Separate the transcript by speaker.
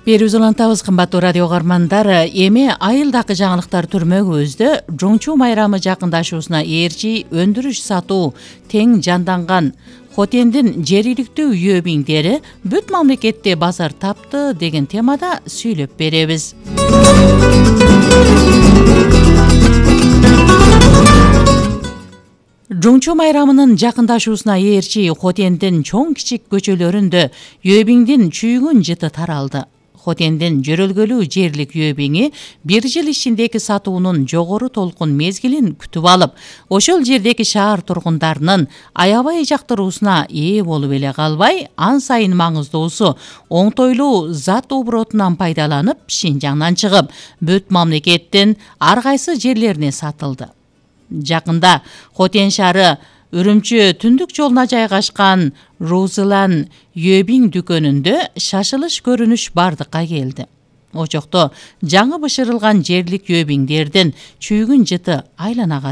Speaker 1: Берүүбүз улантабыз, кымбаттуу радио угармандар. Эми айылдагы жаңылыктар түрмөгүбүздө жоңчу майрамы жакындашуусуна ээрчи өндүрүш сатуу тең жанданган Хотендин жергиликтүү үйөбиңдери бүт мамлекетте базар тапты деген темада сүйлөп беребиз. Жоңчу майрамынын жакындашуусуна ээрчи Хотендин чоң кичик көчөлөрүндө үйөбиңдин чүйгүн жыты таралды. Хотендин жөрөлгөлүү жерлик үйөбиңи бир жыл ичиндеги сатуунун жогору толкун мезгилин күтүп алып, ошол жердеги шаар тургундарынын аябай жактыруусуна ээ болуп эле калбай, ан сайын маңыздуусу оңтойлуу зат оборотунан пайдаланып, Шинжаңдан чыгып, бүт мамлекеттин ар кайсы жерлерине сатылды. Жакында Хотен шаары Үрүмчү түндүк жолуна жайгашкан Розылан үйөбиң дүкөнүндө шашылыш көрүнүш бардыкка келди. Очокто жаңы бышырылган жерлик үйөбиңдердин чүйгүн жыты айланага